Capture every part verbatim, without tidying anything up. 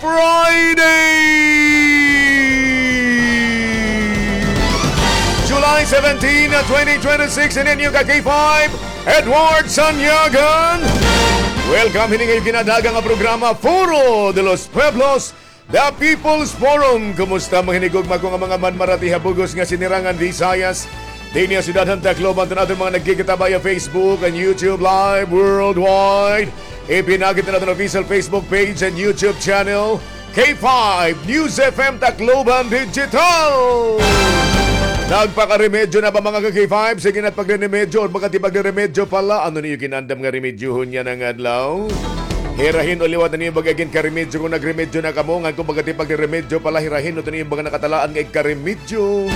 Friday, July seventeen, twenty twenty-six, in inyo ka K five, Edward Sanyagan. Welcome hini nga iyo ginadaga nga programa, Foro de los Pueblos, The People's Forum. Kumusta, mga hinigugma ko nga mga manmarati ha bug-os nga sinirangan Visayas? Dinhi ha syudad han Tacloban, to naton mga nagkikita via Facebook and YouTube Live worldwide. Ipinakit na naton official Facebook page and YouTube channel, K five News F M Tacloban Digital. Nagpakaremedyo na ba, mga ka-K five? Sige na, pagreremedyo. Or baga ti pagreremedyo pala. Ano niyo ginandam nga remedyohon yana nga adlaw? Hirahin o liwat na niyo baga ginkaremedyo kon nagremedyo na kamo. Ngan kon baga ti pagreremedyo pala, hirahin o to niyo baga nakatalaan nga igkaremedyo.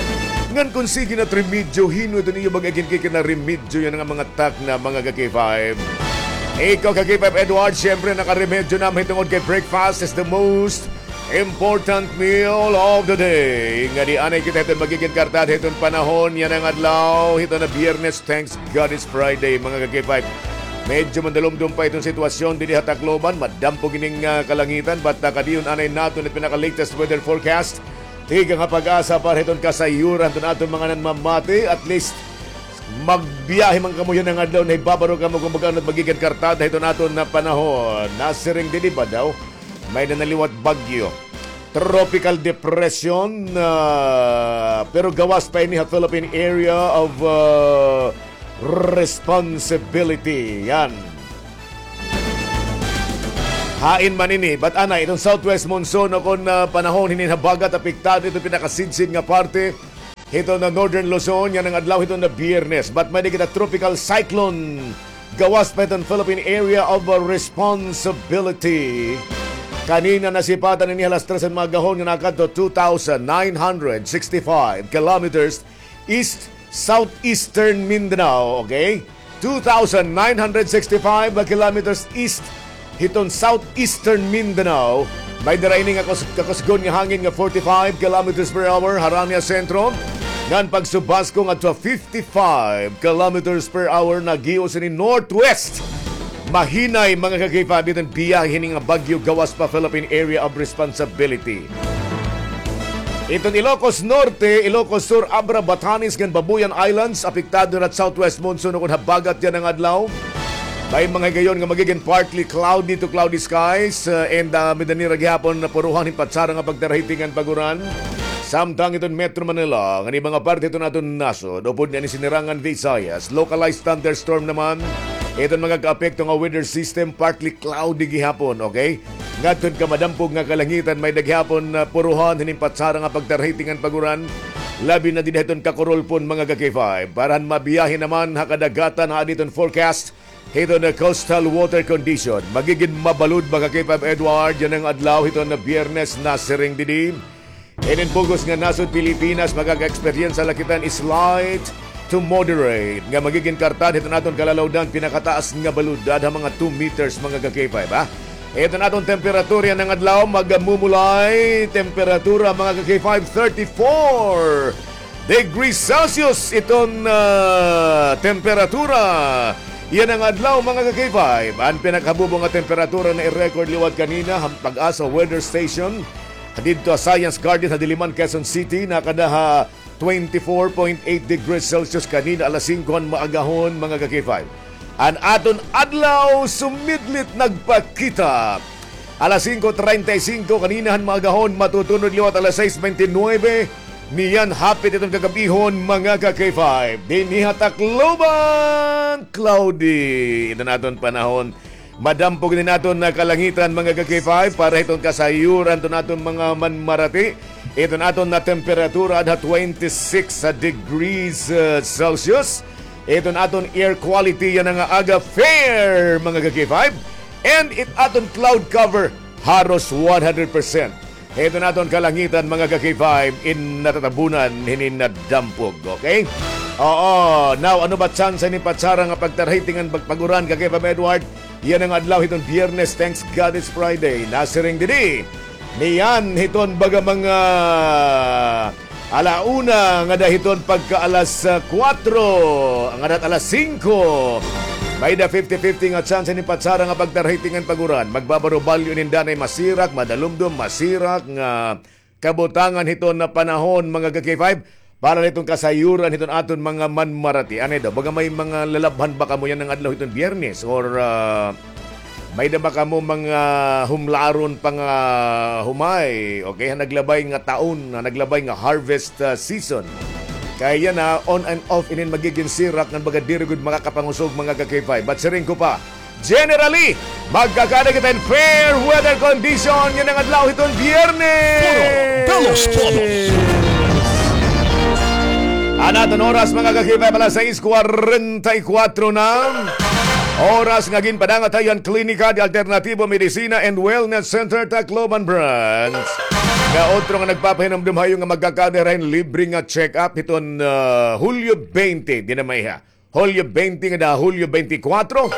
Ngan kon sige na remedyo, hin-o ito niyo baga ginkikinaremedyo yana nga mga takna, mga ka-K five? Ikaw, ka-K five Edward, syempre, nakaremedyo na mahitungod kay breakfast is the most important meal of the day. Ngadi anay kita hiton magigin kartad hiton panahon yana nga adlaw, hiton na Biyernes, thanks God it's Friday, mga ka-K five. Medyo mandalumdom pa iton sitwasyon dinhi ha Tacloban, madampog ining, ah, kalangitan, but, ah, kadiyon anay naton it pinaka-latest weather forecast. Tikang ha PAGASA para hiton kasayuran hiton aton mga nanmamati. At least, magbiyahe man kamo yana nga adlaw, nahibabaro kamo kon mag-ano it magigin kartada hiton aton na panahon. Nasiring didi ba daw? May-ada na liwat bagyo. Tropical depression, ah, pero gawas pa ini ha Philippine Area of, ah, Responsibility. Yan. Hain man ini, but anay, iton southwest monsoon o kon, ah, panahon hinin habagat, apektado iton pinakasidsid nga parte hiton na Northern Luzon yana nga adlaw hiton na Biyernes. But may-ada kita tropical cyclone gawas pa hiton Philippine Area of, uh, Responsibility. Kanina nasipatan ini alas tres han maagahon nga nakadto two thousand nine hundred sixty-five kilometers east southeastern Mindanao, okay? Two thousand nine hundred sixty-five kilometers east hiton southeastern Mindanao. May dara ini nga kus-, kakusgon nga hangin nga forty-five kilometers per hour harani ha sentro, ngan pagsubasko ngadto ha fifty-five kilometers per hour, nagios ini northwest. Mahinay, mga ka-K five, iton biyahe hini nga bagyo gawas pa Philippine Area of Responsibility. Iton Ilocos Norte, Ilocos Sur, Abra, Batanes, ngan Babuyan Islands, apektado na it southwest monsoon o kon habagat yana nga adlaw. May mga higayon nga magigin partly cloudy to cloudy skies, uh, and, uh, may-ada nira gihapon na puruhan hin patsara nga pagtarahiting ngan pag-uran. Samtang iton Metro Manila, ngan iba nga parte hiton aton nasod, upod na ini sinirangan Visayas, localized thunderstorm naman. Iton mga kaapekto nga weather system, partly cloudy gihapon, okay? Ngadto hin kamadampog nga kalangitan, may-ada gihapon, ah, puruhan hinin patsara nga pagtarahiting ngan pag-uran, labi na dida hiton Kakurulpon, mga ka-K five. Para han mabiyahe naman ha kadagatan, aadi iton forecast hiton coastal water condition. Magigin mabalud, mga ka-K five Edward, yana nga adlaw hiton Biyernes, nasiring didi. Hinin bug-os nga nasod Pilipinas, makaka-eksperyensya la kita hin slight to moderate nga magigin kartad hiton aton kalalawdan, pinakataas nga balud, dad ha mga two meters, mga ka-K five, ha? Iton aton temperatura yana nga adlaw, magmumulay temperatura, mga ka-K five, thirty-four degrees Celsius iton, ah, temperatura yana nga adlaw, mga ka-K five. An pinakahabubo nga temperatura na i-record liwat kanina han PAGASA Weather Station didto ha Science Garden ha Diliman, Quezon City, nakada ha twenty-four point eight degrees Celsius kanina alas singko han maagahon, mga ka-K five. An aton adlaw sumidlit nagpakita alas singko treinta y cinco kanina han maagahon, matutunod liwat alas sais bente nuebe niyan hapit iton kagab-ihon, mga ka-K five. Dinhi ha Tacloban, cloudy iton aton panahon. Madampog ini an aton nga kalangitan, mga ka-K five, para hiton kasayuran hiton aton mga manmarati. Iton aton nga temperatura adha twenty-six degrees, uh, Celsius. Iton aton air quality yana nga aga, fair, mga ka-K five. And it aton cloud cover, haros one hundred percent. Iton aton kalangitan, mga ka-K five, in natatabunan hinin nadampog, okay? Oo, now, ano ba tsansa hinin patsara nga pagtarahiting ngan pag-, pag-uran, ka-K five Edward? Yana nga adlaw hiton Biyernes, thanks God it's Friday. Nasiring didi. Niyan hiton baga mga ala una ngada hiton pagka alas, ah, kuwatro, ngada alas singko. May-ada fifty fifty nga chance ni patsara nga pagtarhiti ngan pag-uran. Magbabaro balyo inin danay masirak, madalumdom, masirak nga kabutangan hiton nga panahon, mga ka-K five. Para hiton kasayuran hiton aton mga manmarati. Anay daw, baga may mga lalabhan ba kamo yana nga adlaw hiton Biyernes? Or, ah, may-ada ba kamo mga humlaron pa nga humay? Okay, ha naglabay nga taon, ha naglabay nga harvest, ah, season. Kay yana, on and off inin magigin sirak ngan baga diri gud makakapangusog, mga ka-K five. But siring ko pa, generally, magkakada kita hin fair weather condition yana nga adlaw hiton Biyernes. Puro Dalos Polos. An aton oras, mga ka-K five, alas sais kwarenta y kuwatro na. Oras nga ginpadanga tayo han Klinika de Alternativo Medicina and Wellness Center, Tacloban Branch. Nga otro nga nagpapahinumdom ha iyo nga magkakada hira hin libre nga check-up hiton, ah, Hulyo twenty, diri na maiha. Hulyo twenty ngada ha Hulyo twenty-four.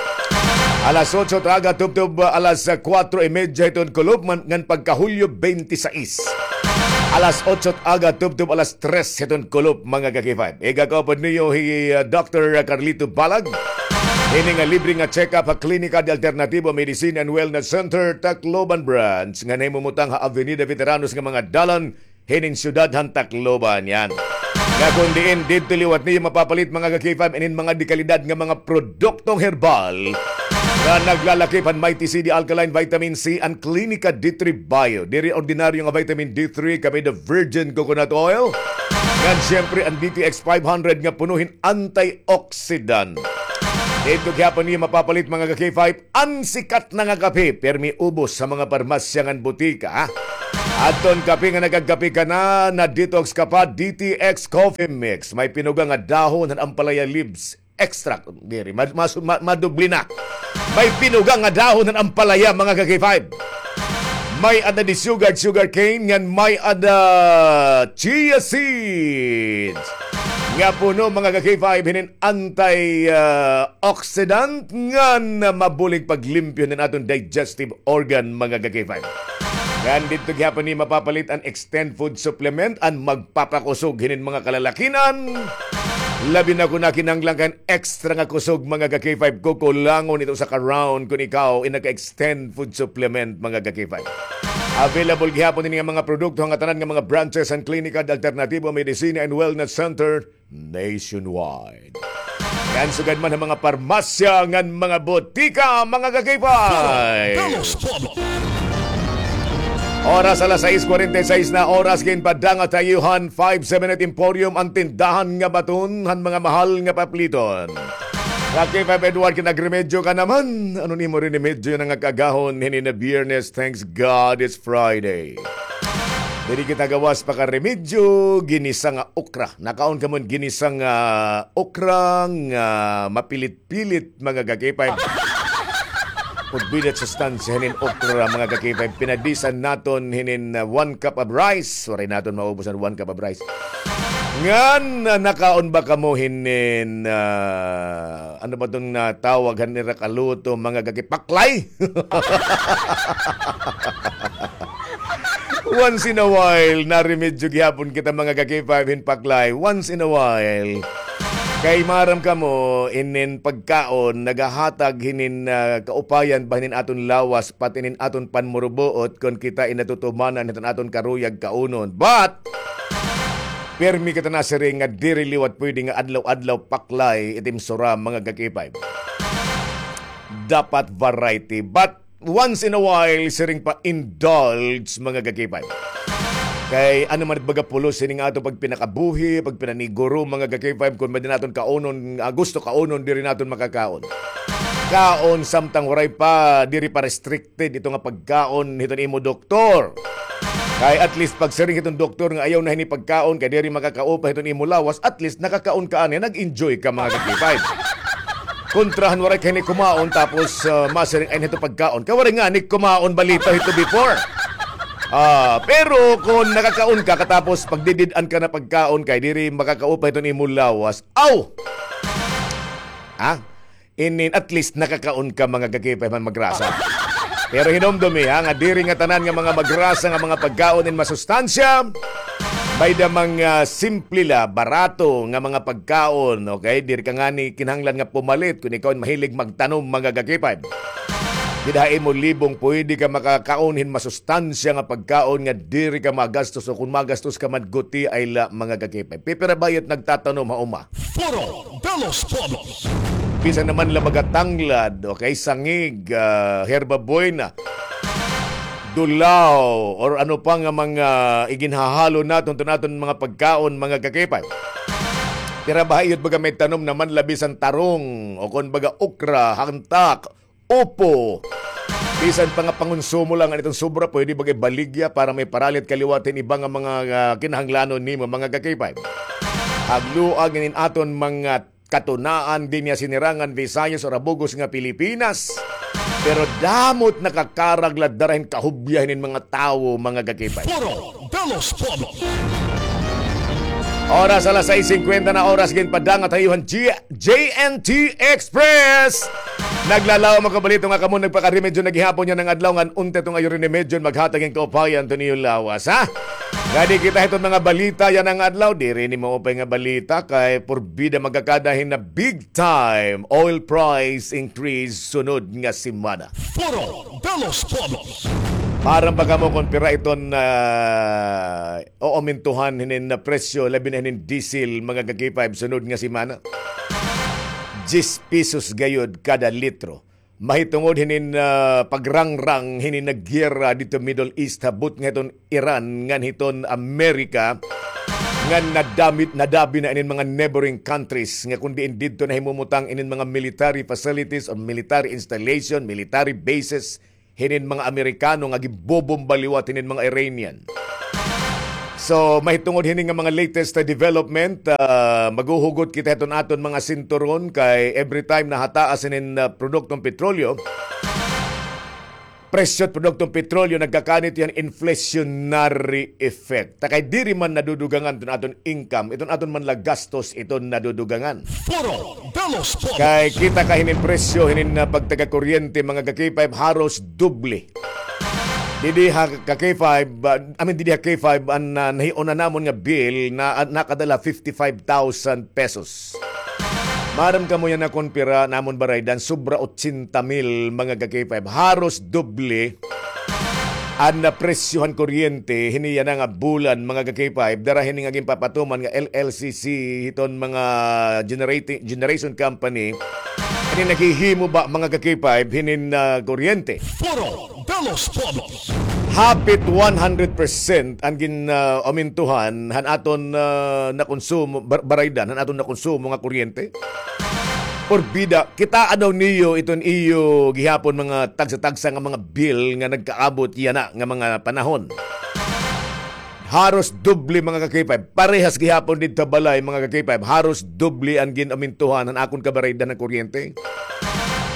Alas otso ta aga tubtob, ah, alas, ah, kuwatro y medya hiton kulop, man, ngan pagka Hulyo twenty-six. Alas otso ta aga tubtob alas tres hiton kulop, mga ka-K five. Igakaupod niyo hi, ah, Doctor Carlito Balag. Hini nga libre nga check-up ha Klinika de Alternativo Medicine and Wellness Center, Tacloban Branch, nga nahimumutang ha Avenida Veteranos nga mga dalan, hinin syudad han Tacloban, yan. Nga kon diin didto liwat niyo mapapalit, mga ka-K five, inin mga dekalidad nga mga produktong herbal nga naglalakip han Mighty C D Alkaline Vitamin C and Klinika D three Bio. Diri ordinaryo nga vitamin D three, kami the virgin coconut oil. Ngan siyempre an D T X five hundred nga puno hin antioxidant. Didto gihapon niyo mapapalit, mga ka-K five, an sikat na nga kape, pirmi ubos ha mga parmasya ngan botika, ha? Adton kape nga nakagkape ka na, na-detox ka pa, D T X Coffee Mix. May pinuga nga dahon han ampalaya leaves extract. Diri, ma-, mas-, ma-, madubli na. May pinuga nga dahon han ampalaya, mga ka-K five. May-ada desugared sugar cane, ngan may-ada chia seeds. Nga puno, mga ka-K five, hinin anti, ah, oxidant ngan mabulig paglimpyo hinin aton digestive organ, mga ka-K five. Ngan didto gihapon niyo mapapalit an Extend Food Supplement, an magpapakusog hinin mga kalalakinan. Labi na kon nakinahanglan ka hin extra nga kusog, mga ka-K five, kukulangon ito sa ka-round kon ikaw in naka-Extend Food Supplement, mga ka-K five. Available gihapon ini nga mga produkto ha ngatanan nga mga branches han Klinika de Alternativo Medicina and Wellness Center nationwide. Ngan sugad man ha mga parmasya ngan mga botika, mga ka-K five. Dalos Polos. Oras alas sais kwarenta y sais na, oras ginpadanga tayo han Five Seven Eight Emporium, an tindahan nga baton han mga mahal nga papliton. Ka-K five Edward, kinagremedyo ka naman. Ano nimo rinimedyo na nga kaagahon hinin nga Biyernes? Thanks God it's Friday. Diri kita gawas pakaremedyo, ginisa nga okra. Nakaon kamo hin ginisa nga okra nga mapilit-pilit, mga ka-K five. Pud bigat sustansya hinin okra, mga ka-K five. Pinadisan naton hinin, uh, one cup of rice. Waray naton maubos an one cup of rice. Ngan, uh, nakaon ba kamo hinin, uh, ano ba iton, uh, tawag han ira kaluto, mga ka-K five? Paklay? Once in a while, naremedyo gihapon kita, mga ka-K five, hin paklay. Once in a while. Kay maaram kamo, inin pagkaon, nagahatag hinin, ah, kaupayan ba hinin aton lawas, pati hinin aton panmurubuot, kon kita in natutumanan hiton aton karuyag kaunon. But, pirmi kita nasiring nga diri liwat pwede nga adlaw-adlaw paklay it im suram, mga ka-K five. Dapat variety. But, once in a while, siring pa, indulge, mga ka-K five. Kay ano man it baga pulos hini nga aton pagpinakabuhi, pagpinaniguro, mga ka-K five, kon may-ada naton kaunon, ah, gusto kaunon, diri naton makakaon. Kaon samtang waray pa, diri pa restricted ito nga pagkaon hiton imo doktor. Kay at least pagsiring hiton doktor nga ayaw na hini pagkaon kay diri makakaupa hiton imo lawas, at least nakakaon ka ani, nag-enjoy ka, mga ka-K five. Kontra han waray ka hini kumaon tapos, ah, masiring ay hito pagkaon. Kay waray ngani kumaon balita hito before. Ah, pero kon nakakaon ka katapos pagdidid-an ka na pagkaon kay diri makakaupa hiton imo lawas. Aw! Ha? Inin, at least nakakaon ka, mga ka-K five, man magrasa. Pero hinumdumi, ha, nga diri nga tanan nga mga magrasa nga mga pagkaon in masustansya. May da mga simple la, barato nga mga pagkaon, okay? Diri ka ngani kinahanglan nga pumalit kun ikaw mahilig magtanom, mga ka-K five. Dida ha imo libong, pwede ka makakaon hin masustansya nga pagkaon nga diri ka magastos, o kun magastos ka man, guti ay la, mga ka-K five. Pipira ba it nagtatanom ha uma? Foro de los Pueblos. Bisan naman la mga tanglad, okay, sangig, ah, herba buena, dulaw, or ano pa nga mga iginhahalo naton, ton aton mga pagkaon, mga ka-K five. Pira ba ha iyo it baga may tanom naman la bisan tarong, o kon baga okra, hantak, upo. Bisan pa nga pangonsumo la ngan iton sobra, pwede baga ibaligya para may paralit ka liwat hin iba nga mga, ah, kinahanglanon nimo, mga ka-K five. Hagluag inin aton mga katunaan dinhi ha Sinirangan, Visayas, o ha bug-os nga Pilipinas. Pero damo it nakakarag la dara hin kahubya hinin mga tawo, mga ka-K five. Foro de los Pueblos. Oras alas sais singkwenta na, oras ginpadangat ha iyo han G-, J N T Express. Naglalaom an kabalita nga kamo nagpakaremedyo na gihapon yana nga adlaw, ngan unta iton iyo rinimedyo maghatag hin kaupayan iton iyo lawas, ha? Ngadi kita hiton mga balita yana nga adlaw, diri ini maupay nga balita kay porbida magkakada hin na big time oil price increase sunod nga semana. Foro de los Pueblos. Maaram ba kamo kon pira iton, ah, oomentohan hinin na presyo, labi na hinin diesel, mga ka-K five, sunod nga semana? Diyes pesos gayod kada litro. Mahitungod hinin, ah, pagrangrang hinin nga giyera didto Middle East, ha butnga hiton Iran ngan hiton Amerika, ngan nadamit, nadabi na inin mga neighboring countries nga kon diin didto nahimumutang inin mga military facilities or military installation, military bases hinin mga Amerikano nga ginbobomba liwat hinin mga Iranian. So, mahitungod hini nga mga latest, ah, development, ah, maghuhugot kita hiton aton mga sinturon kay every time nahataas hinin, ah, produktong petrolyo, presyo hit produktong petrolyo, nagkakanit yan inflationary effect. Ta kay diri man nadudugangan iton aton income, iton aton man la gastos iton nadudugangan. Foro de los Pueblos. Kay kita ka hinin presyo hinin, ah, pagtaga kuryente, mga ka-K five, haros doble. Didi ha ka-K five, ah, I mean, didi ha K five, an, ah, nahiuna namon nga bill na, ah, nakadala fifty-five thousand pesos. Maaram kamo yana kon pira namon baraydan, sobra otsenta mil, mga ka-K five. Haros doble an, ah, presyo han kuryente hini yana nga bulan, mga ka-K five, dara hini nga ginpapatuman nga L L C C hiton mga generating, generation company, hini naghihimo ba, mga ka-K five, hinin, ah, kuryente. Foro de los Pueblos. Hapit one hundred percent an gin, ah, omentohan han aton, ah, nakonsumo, bar-, baraydan han aton nakonsumo nga kuryente. Porbida, kitaa daw niyo iton iyo gihapon mga tagsa-tagsa nga mga bill nga nagkaabot yana nga mga panahon. Haros doble, mga ka-K five. Parehas gihapon didto ha balay, mga ka-K five. Haros doble an gin-omentohan han akon kabaraydan han kuryente.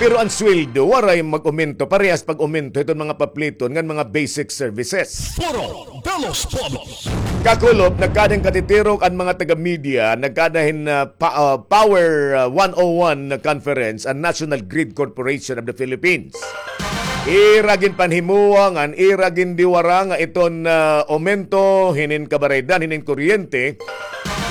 Pero an sweldo, waray mag-omento. Parehas pag-omento hiton mga papliton ngan mga basic services. Foro de los Pueblos. Kakulop, nagkada hin katitirok an mga taga-media, nagkada hin, ah, pa-, ah, Power, ah, one oh one conference an National Grid Corporation of the Philippines. Ira ginpanhimoa ngan ira gindiwara nga iton, ah, omento hinin kabaraydan hinin kuryente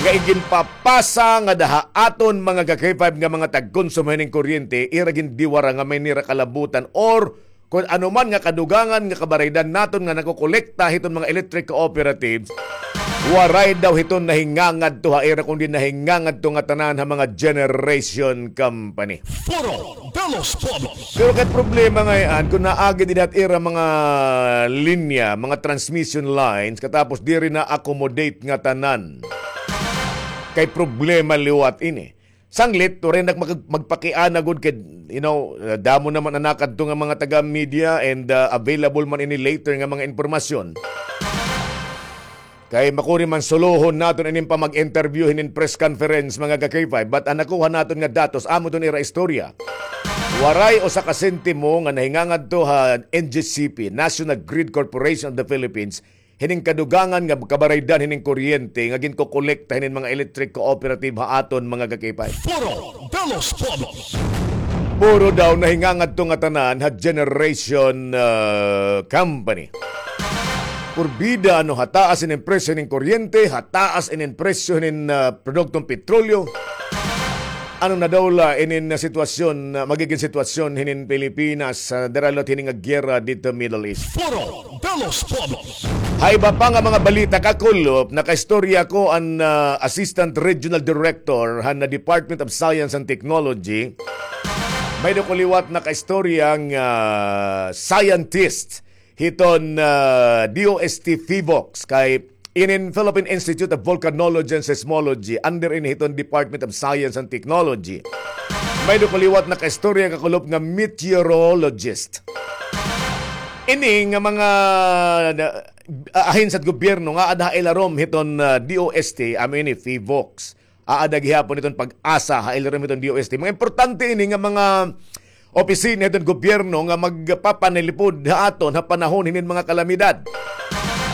nga iginpapasa ngada ha aton mga ka-K five nga mga tagkonsumo hinin kuryente, ira gindiwara nga may nira kalabutan or kon ano man nga kadugangan nga kabaraydan naton nga nakokolekta hiton mga electric cooperatives, waray daw hiton nahingangadto ha ira, kundi nahingangadto ngatanan ha mga generation company. Foro de los Pueblos. Pero kay problema ngay-an, kon naagi dida ha ira mga linya, mga transmission lines, katapos diri na-accommodate ngatanan. Kay problema liwat ini. Sanglit, waray na mag-, magpakiana gud kay, you know, uh, damo naman an nakadto nga mga taga-media and, uh, available man ini later nga mga impormasyon. Kay makuri man sulohon naton inin pamag-interview hinin press conference, mga ka-K five, but an nakuha naton nga datos, amo iton ira istorya. Waray usa ka sentimo nga nahingangadto ha N G C P, National Grid Corporation of the Philippines, hinin kadugangan nga kabaraydan hinin kuryente nga ginkokolekta hinin mga electric cooperative ha aton mga ka-K five. Foro de los Pueblos. Puro daw nahingangadto ngatanan ha generation, ah, company. Purbida, ano, ha taas inin presyo nin kuryente, ha taas inin presyo nin, ah, produktong petrolyo. Ano na daw la inin, ah, sitwasyon, ah, magigin sitwasyon hinin Pilipinas, ah, dara liwat hini nga giyera didto Middle East? Foro de los Pueblos. Ha iba pa nga mga balita, kakulop, nakaistorya ko an, ah, Assistant Regional Director han, ah, Department of Science and Technology. May-ada ko liwat nakaistorya nga, ah, scientist hiton, ah, D O S T PHIVOLCS kay inin Philippine Institute of Volcanology and Seismology, under ini hiton Department of Science and Technology. May-ada ko liwat nakaistorya, kakulop, nga meteorologist. Ini nga mga, ah, ahensya hit gobyerno nga aada ha ilarom hiton, ah, D O S T, amo ini PHIVOLCS. Aada gihapon hiton PAGASA, ha ilarom hiton D O S T. Mga importante ini nga mga opisina hiton gobyerno nga magpapanalipod ha aton ha panahon hinin mga kalamidad.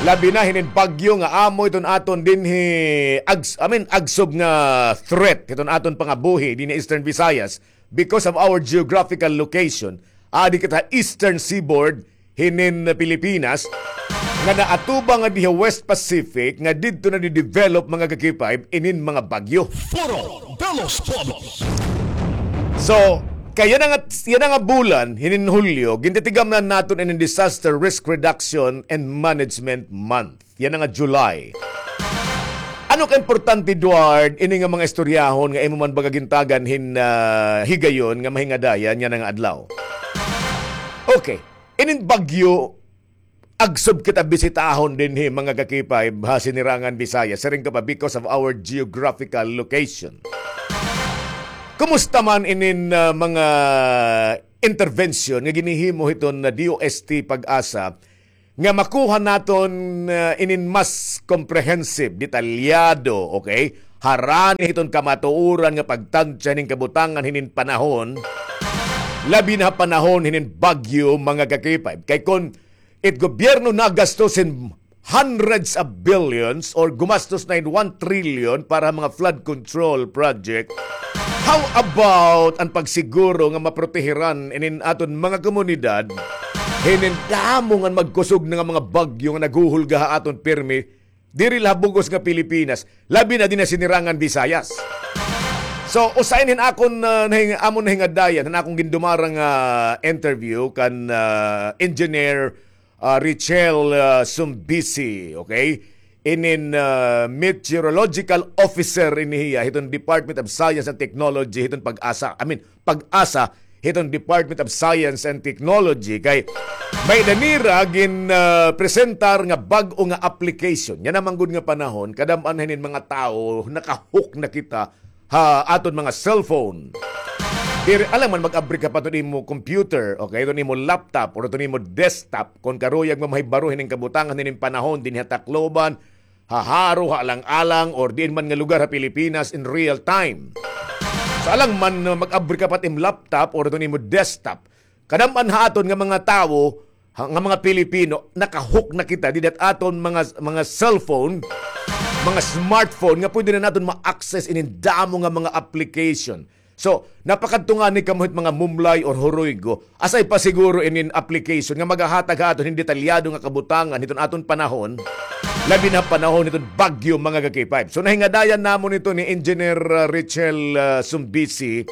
Labi na hinin bagyo nga amo hiton aton dinhi ags-, I mean, agsob nga threat hiton aton pangabuhi dinhi Eastern Visayas because of our geographical location. Adi kita Eastern Seaboard hinin Pilipinas, nga naatubang nga dinhi West Pacific, nga didto nadi-develop, mga ka-K five, inin mga bagyo. Foro de los Pueblos. So, kay yana nga, yana nga bulan, hinin Hulyo, gintitigamnan naton inin Disaster Risk Reduction and Management Month. Yana nga July. Ano ka importante, Eduard, ini nga mga istoryahon nga imo man baga gintagan hin, ah, higayon nga mahingadayan yana nga adlaw? Okay. Inin bagyo, agsob kita bisitahon dinhi, mga ka-K five, ha Sinirangan Visayas. Siring ka pa, because of our geographical location. Kumusta man inin, ah, mga intervention nga ginhihimo hiton, ah, D O S T PAGASA nga makuha naton, ah, inin mas comprehensive, detalyado, okay? Harani hiton kamatuoran nga pagtansya hinin kabutangan hinin panahon, labi na ha panahon hinin bagyo, mga ka-K five. Kay kon it gobyerno nagastos hin hundreds of billions or gumastos na hin one trillion para mga flood control project, how about an pagsiguro nga maprotehiran inin aton mga komunidad hinin damo nga magkusog na nga mga bagyo nga naghuhulga ha aton pirmi, diri la ha bug-os nga Pilipinas, labi na dinhi ha Sinirangan Visayas? So, usa ini hin akon, ah, nahing-, amon nahingadayan, han akon gindumara nga interview kan, ah, Engineer, ah, Richel, ah, Sumbisi, okay? Inin, ah, meteorological officer ini hiya hiton Department of Science and Technology hiton PAGASA. I mean, PAGASA hiton Department of Science and Technology kay may-ada nira gin, ah, presentar nga bag-o nga application. Yana man gud nga panahon, kadam-an hinin mga tawo, naka-hook na kita ha aton mga cellphone. Diri, alangan man mag-abri ka pa hiton imo computer, okay, hiton imo laptop, or hiton imo desktop, kon karuyag mo mahibaro hinin kabutangan hinin panahon dinhi ha Tacloban, ha Jaro, ha Alang-alang, or diin man nga lugar ha Pilipinas in real time. So, alangan man, uh, mag-abri ka pa hit im laptop or hiton imo desktop. Kadam-an ha aton nga mga tawo, ha, nga mga Pilipino, naka-hook na kita dida hit aton mga, mga cellphone, mga smartphone, nga pwede na naton ma-access inin damo nga mga application. So, napakadto ngani kamo hit mga Mumlay or Joroigo, asay pa siguro inin application nga magahatag ha aton hin detalyado nga kabutangan hiton aton panahon, labi na panahon hiton bagyo, mga ka-K five. So, nahingadayan namon ito ni Engineer, uh, Richel, uh, Sumbisi,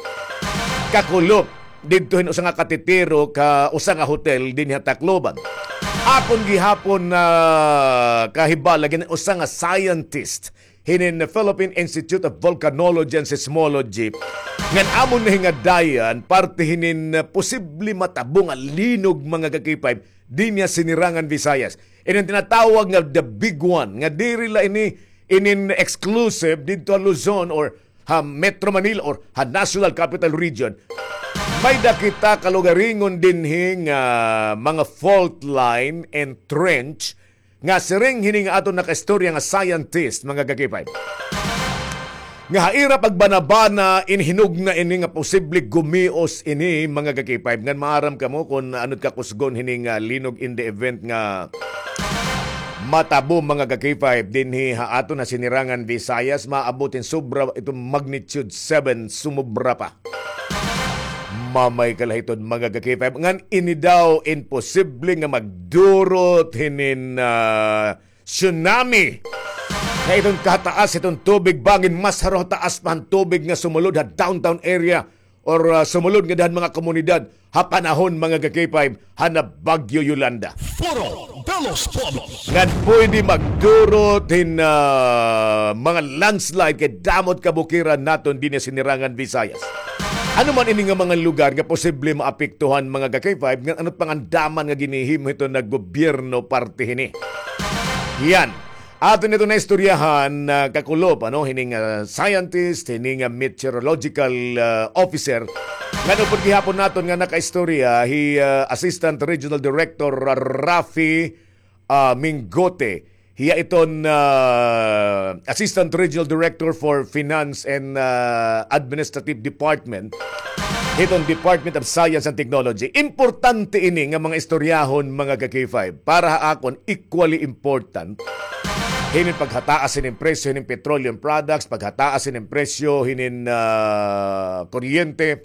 kakulop didto hin usa nga katitirok ha usa nga hotel dinhi ha Tacloban. Akon gihapon na kahibal-an gin usa nga scientist hinin Philippine Institute of Volcanology and Seismology ngan amon nahingadayan parte hinin, uh, posible matabo nga linog, mga ka-K five, dinhi ha Sinirangan Visayas. Inin tinatawag nga the big one, nga diri la ini inin exclusive didto ha Luzon or ha Metro Manila or ha National Capital Region. May-ada kita kalugaringon dinhi nga mga fault line and trench nga siring hini nga aton nakaistorya nga scientist, mga ka-K five, nga ha ira pagbanabana, in hinugna ini nga posible gumios ini, mga ka-K five. Ngan maaram kamo kon ano it kakusgon hini nga linog in the event nga matabo, mga ka-K five, dinhi ha aton ha Sinirangan Visayas, maabot hin sobra, ito magnitude seven, sumobra pa. pamay kalahiton, mga ka-K five, ngan ini daw imposible nga magdurot hinin, ah, tsunami. Nga iton kataas iton tubig, bangin mas haro taas pa han tubig nga sumulod ha downtown area or, ah, sumulod ngada han mga komunidad ha panahon, mga ka-K five, han Bagyo Yolanda. Foro de los Pueblos. Ngan pwede magdurot hin, ah, mga landslide kay damo it kabukiran naton dinhi ha Sinirangan Visayas. Ano man ini nga mga lugar nga posible maapektuhan, mga ka-K five, ngan ano it pangandaman nga ginhihimo hiton gobyerno parte hini? Yan. Aton ito naistoryahan, ah, kakulop, ano, hining, ah, scientist, hining, ah, meteorological, ah, officer. Ngan upod gihapon naton nga nakaistorya, hi, ah, Assistant Regional Director Rafi, ah, Mingote. Hiya iton, ah, Assistant Regional Director for Finance and, ah, Administrative Department hiton Department of Science and Technology. Importante ini nga mga istoryahon, mga ka-K five. Para ha akon, equally important. Hinin paghataas hinin presyo hinin petroleum products, paghataas hinin presyo hinin, ah, kuryente.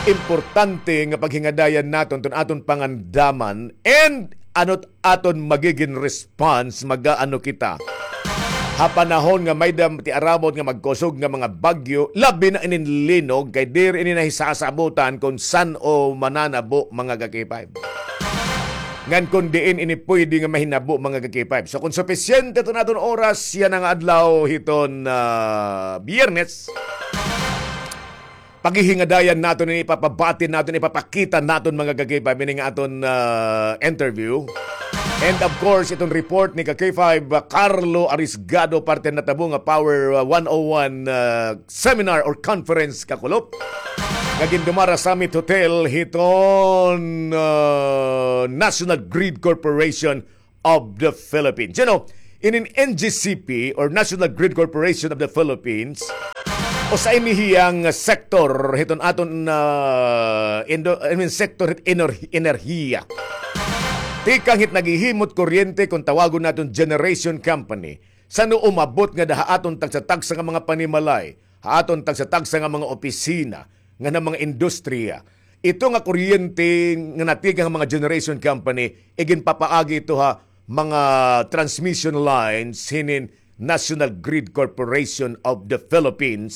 Importante nga paghingadayan naton iton aton pangandaman and ano it aton magigin response, mag-aano kita ha panahon nga may-ada tiarabot nga magkusog nga mga bagyo, labi na inin linog, kay diri ini nahisasabutan kon san-o mananabo, mga ka-K five. Ngan kon diin ini pwede nga mahinabo, mga ka-K five. So, kon supisyente iton aton oras yana nga adlaw hiton, ah, Biyernes, paghihingadayan naton ini, ipapabati naton, ipapakita naton, mga ka-K five, ini nga aton, ah, interview. And of course, iton report ni ka-K five, ah, Carlo Arisgado, parte han natabo nga Power, ah, one oh one, ah, seminar or conference, kakulop, nga gindumara ha Summit Hotel hiton, ah, National Grid Corporation of the Philippines. You know, inin N G C P or National Grid Corporation of the Philippines, usa ini hiya nga sektor hiton aton, ah, indo-, I mean, sektor hit ener-, enerhiya. Tikang hit naghihimo hit kuryente, kon tawagon naton generation company, san-o umabot ngada ha aton tagsa-tagsa nga mga panimalay, ha aton tagsa-tagsa nga mga opisina, ngan ha mga industriya. Ito nga kuryente nga natikang ha mga generation company, iginpapaagi ito ha mga transmission lines hinin National Grid Corporation of the Philippines.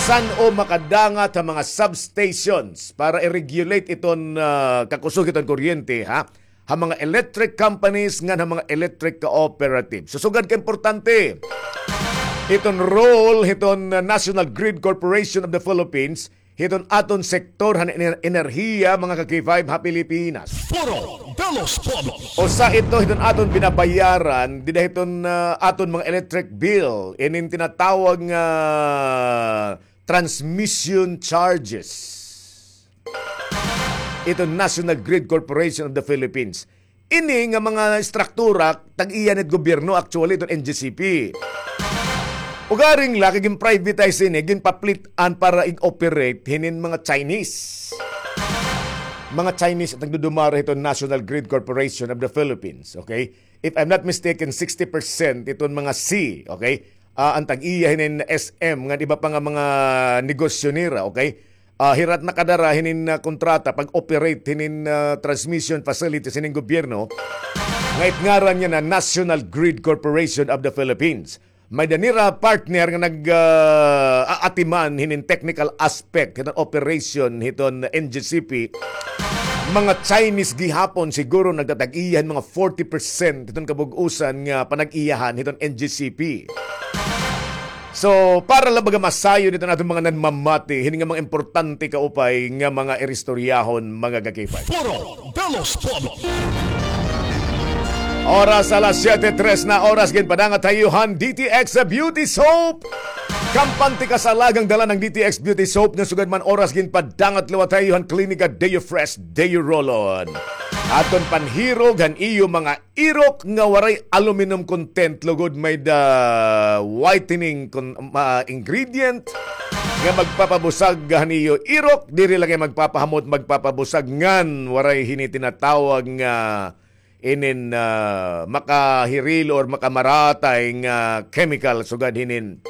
San-o makadangat ha mga substations para i-regulate iton, ah, kakusog hiton kuryente, ha? Ha mga electric companies ngan ha mga electric cooperative. So, sugad ka importante iton role hiton, uh, National Grid Corporation of the Philippines, hiton aton sektor han ener-, enerhiya, mga ka-K five, ha Pilipinas. Foro de los Pueblos. Usa ito hiton aton binabayaran dida hiton, uh, aton mga electric bill, inin tinatawag nga transmission charges. Ito National Grid Corporation of the Philippines. Ini nga mga estruktura, tag-iya na it gobyerno, actually, iton N G C P. Ugaring la, kay gin-privatize ini, ginpaplit-an para ig-operate hinin mga Chinese. Mga Chinese it nagdudumara hiton National Grid Corporation of the Philippines, okay? If I'm not mistaken, sixty percent iton mga C, okay? Ah, an tag-iya hinin S M, ngan iba pa nga mga negosyo nira, okay? Ah, hira it nakadara hinin, ah, kontrata pag-operate hinin, ah, transmission facilities hinin gobyerno nga it ngaran yana National Grid Corporation of the Philippines. May-ada nira partner nga nag, ah, aatiman hinin technical aspect hiton operation hiton N G C P. Mga Chinese gihapon siguro nagtatag-iya hin mga forty percent hiton kabug-osan nga panag-iyahan hiton N G C P. So, para la baga masayon iton aton mga nanmamati hini nga mga importante kaupay nga mga iristoryahon, mga ka-K five. Foro de los Pueblos. Oras alas siyete tres na oras, ginpadangat ha iyo han D T X Beauty Soap. Kampante ka sa alagang dala ng D T X Beauty Soap nga sugad man oras ginpadangat liwat ha iyo han Klinika Deo Fresh, Deo Roll-On. Aton panhirog han iyo mga irok nga waray aluminum content, lugod may-ada whitening con-, ah, ingredient nga magpapabusag han iyo irok, diri la kay magpapahamot, magpapabusag ngan waray hini tinatawag nga inin, ah, makahirilo or makamaratay nga chemical sugad hinin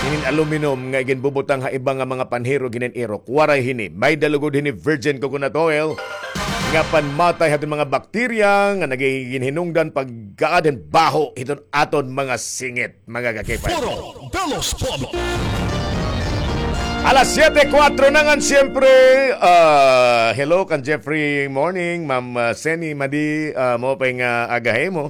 in aluminum nga iginbubutang ha iba nga mga panhirog hinin irok. Waray hini. May-ada lugod hini virgin coconut oil nga panmatay hadton mga bakterya nga nagiginhinungdan pagkaad hin baho hiton aton mga singit, mga ka-K five. Foro de los Pueblos. Alas siyete kuwatro na ngan, siyempre, ah, hello kan Jeffrey Morning, Ma'am, ah, Seni Madi, ah, maupay nga aga ha imo.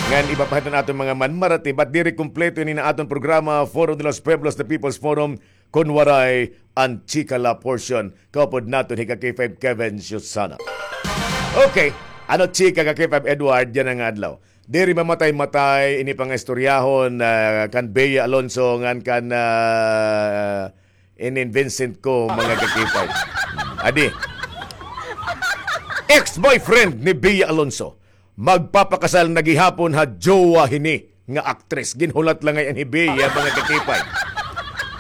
Ngan iba pa hiton aton mga manmarati, but diri kumpleto ini nga aton programa, Foro de los Pueblos, the People's Forum, kon waray an chika la portion. Kaupod naton hi ka-K five Kevin Susana. Okay, ano chika, ka-K five Edward, yana nga adlaw? Diri mamatay-matay ini pangistoryahon, ah, kan Bea Alonso ngan kan, ah, inin Vincent Co, mga ka-K five. Adi. Ex-boyfriend ni Bea Alonso magpapakasal na gihapon ha jowa hini nga aktres. Ginhulat la ngay-an hi Bea, mga ka-K five.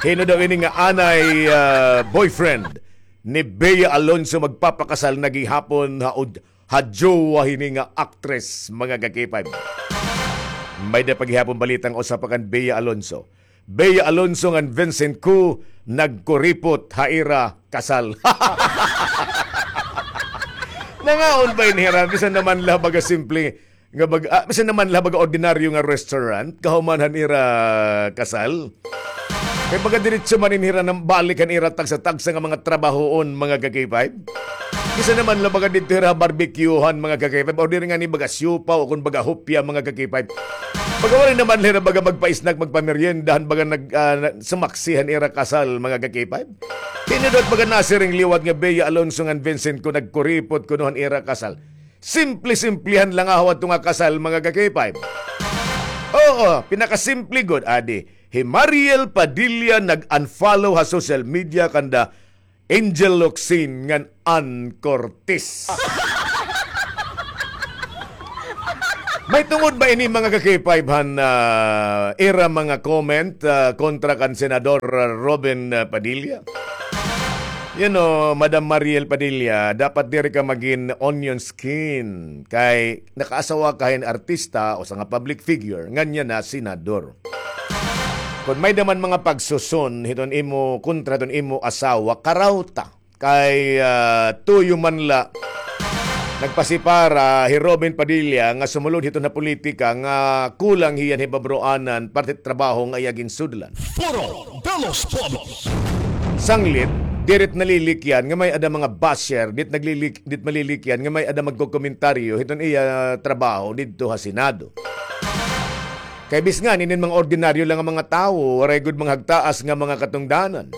Hin-o daw ini nga anay, ah, boyfriend ni Bea Alonso magpapakasal na gihapon ha ud-, ha jowa hini nga aktres, mga ka-K five. May-ada pa gihapon balita nga usa pa kan Bea Alonso. Bea Alonso ngan Vincent Co nagkuripot ha ira kasal. Nangaon ba ini hira? Bisan naman la baga simple nga bag-, ah, bisan naman la baga ordinaryo nga restaurant, kahuman han ira kasal. Kay baga diretso man ini hira nang balik han ira tagsa-tagsa nga mga trabahoon, mga ka-K five. Bisan naman la baga didto hira barbecuehan, mga ka-K five, o diri ngani baga siopao o kon baga hopya, mga ka-K five. Baga waray naman la hira baga magpa-snack, magpamerienda han baga nag-, ah, na-, sumaksi han ira kasal, mga ka-K five. Hin-o daw it baga nasiring liwat nga Bea Alonso ngan Vincent Co nagkuripot kuno han ira kasal. Simple-simplehan la ngahaw adto nga kasal, mga ka-K five. Oo, pinakasimple gud, adi. Hi Mariel Padilla nag-unfollow ha social media kanda Angel Locsin ngan Ann Cortez. May tungod ba ini, mga ka-K five, han, ah, ira mga comment, ah, kontra kan Senador, ah, Robin, ah, Padilla? You know, Madam Mariel Padilla, dapat diri ka magin onion skin. Kay nakaasawa ka hin artista, usa nga public figure, ngan yana senador. Kon may-ada man mga pagsuson hiton imo, kontra hiton imo asawa, karawta. Kay, ah, tuyo man la nagpasipara hi Robin Padilla nga sumulod hiton ha politika nga kulang hiya hin hibabaroanan parte trabaho nga iya ginsudlan. Foro de los Pueblos. Sanglit, diri it nalilikyan nga may-ada mga basher, diri it naglilik-, diri it malilikyan nga may-ada magkokomentaryo hiton iya trabaho didto ha Senado. Kay bisan ngani inin mga ordinaryo la nga mga tawo, waray gud mga hagtaas nga mga katungdanan.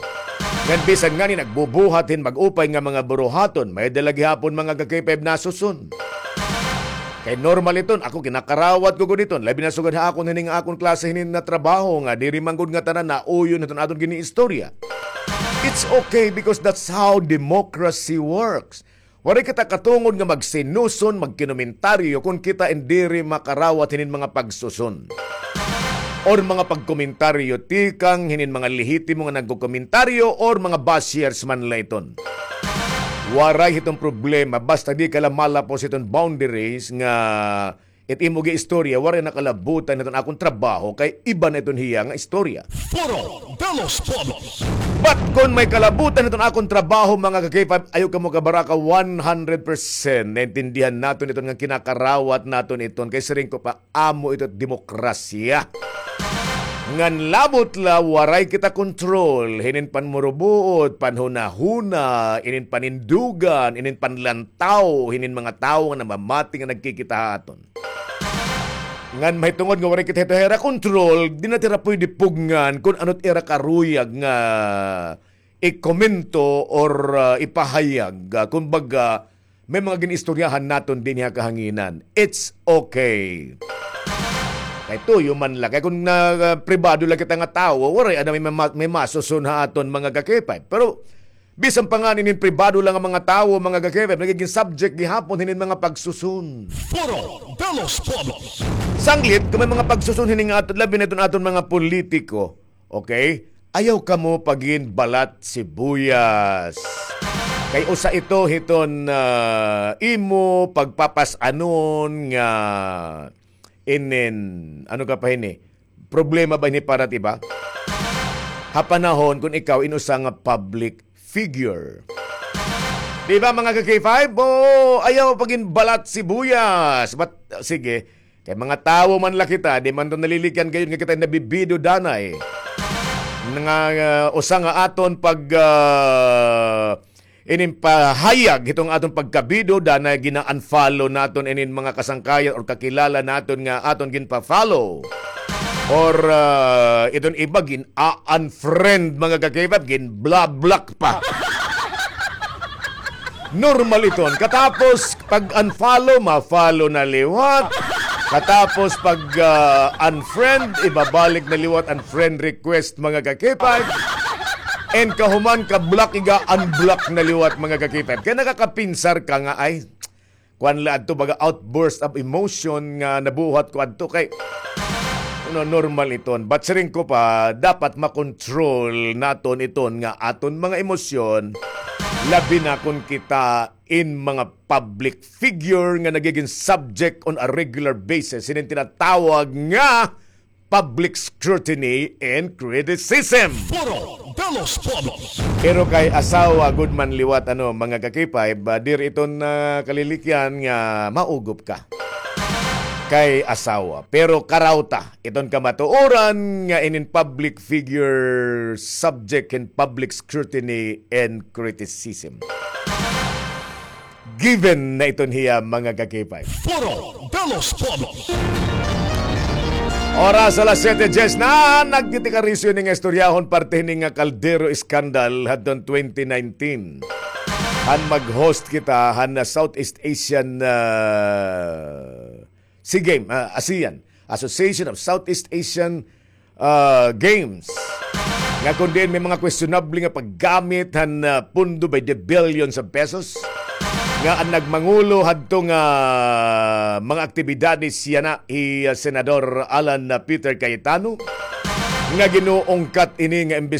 Ngan bisan ngani nagbubuhat hin mag-upay nga mga buruhaton, may-ada la gihapon mga ka-K five nasuson. Kay normal iton, ako kinakarawat ko gud iton, labi na sugad ha akon hini nga akon klase hini nga trabaho nga diri man gud ngatanan nauyon hiton aton giniistorya. It's okay because that's how democracy works. Waray kita katungod nga magsinuson, magkinomentaryo kon kita in diri makarawat hinin mga pagsuson or mga pagkomentaryo tikang hinin mga lehitimo nga nagkokomentaryo or mga bashers man la iton. Waray hiton problema basta di ka la malapos hiton boundaries nga it imo giistorya, waray na kalabutan hiton akon trabaho kay iba na iton hiya nga istorya. Foro de los Pueblos. But kon may kalabutan hiton akon trabaho, mga ka-K five, ayaw kamo kabaraka, one hundred percent naintindihan naton iton nga kinakarawat naton iton kay siring ko pa, amo ito demokrasya. Ngan labot la waray kita kontrol hinin panmurubuot, panhunahuna, inin panindugan, inin panlantaw hinin mga tawo nga namamati nga nagkikita ha aton. Ngan mahitungod nga waray kita hito ha ira kontrol, di na hira pwede pugngan kon ano it ira karuyag nga ikomento or, ah, ipahayag. Ah, kumbaga, may mga gin-istoryahan naton dinhi ha kahanginan. It's okay. Kay tuyo man la. Kay kon na, ah, pribado la kita nga tawo, waray ada may mama-, may masuson ha aton mga ka-K five. Pero bisan pa ngani inin pribado la nga mga tawo, mga ka-K five, nagigin subject gihapon hinin mga pagsuson. Foro de los Pueblos. Sanglit, kon may mga pagsuson hini nga aton, labi na iton aton mga politiko, okay? Ayaw kamo pagin balat sibuyas. Kay usa ito hiton, ah, imo pagpapas-anon nga inin, ano ka pa hini? Problema ba ini para it iba? ha panahon kon ikaw in usa nga public figure. Di ba, mga ka-K five? Oo, ayaw pa gin balat sibuyas. But, sige, kay mga tawo man la kita, di man to nalilikyan gayod nga kita nabibido danay. Nga, ah, usa nga aton pag, ah, inin pahayag, hitong aton pagkabido danay, gina-unfollow naton inin mga kasangkayan or kakilala naton nga aton ginpa-follow. Or, ah, iton iba gin-unfriend, mga ka-K five, gin-block pa. Normal iton. Katapos pag-unfollow, ma-follow na liwat. Katapos pag, ah, unfriend, ibabalik na liwat an friend request, mga ka-K five. And kahuman ka-block, iga-unblock na liwat, mga ka-K five. Kay nakakapinsar ka nga, ay, kuan la adto, baga outburst of emotion nga nabuhat ko adto kay, no, normal iton. But siring ko pa, dapat makontrol naton iton nga aton mga emosyon, labi na kon kita in mga public figure nga nagigin subject on a regular basis hinin tinatawag nga public scrutiny and criticism. Foro de los Pueblos. Pero kay asawa gud man liwat, ano, mga ka-K five, ah, diri iton, ah, kalilikyan nga maugop ka kay asawa. Pero karawta iton kamatuoran nga inin public figure subject in public scrutiny and criticism. Given na iton hiya, mga ka-K five. Foro de los Pueblos. Oras alas siyete diyes na, nagtitikarisyo ini nga istoryahon parte hini nga Caldero Scandal hadton twenty nineteen. Han mag-host kita han, ah, Southeast Asian, ah, SEA Game, ah, ASEAN, Association of Southeast Asian, ah, Games. Nga kon diin may mga questionable nga paggamit han, ah, pondo by the billions of pesos. Nga an nagmangulo hadto nga mga aktibidades yana hi, ah, Senador Alan, ah, Peter Cayetano. Nga ginuungkat ini nga imbestigasyon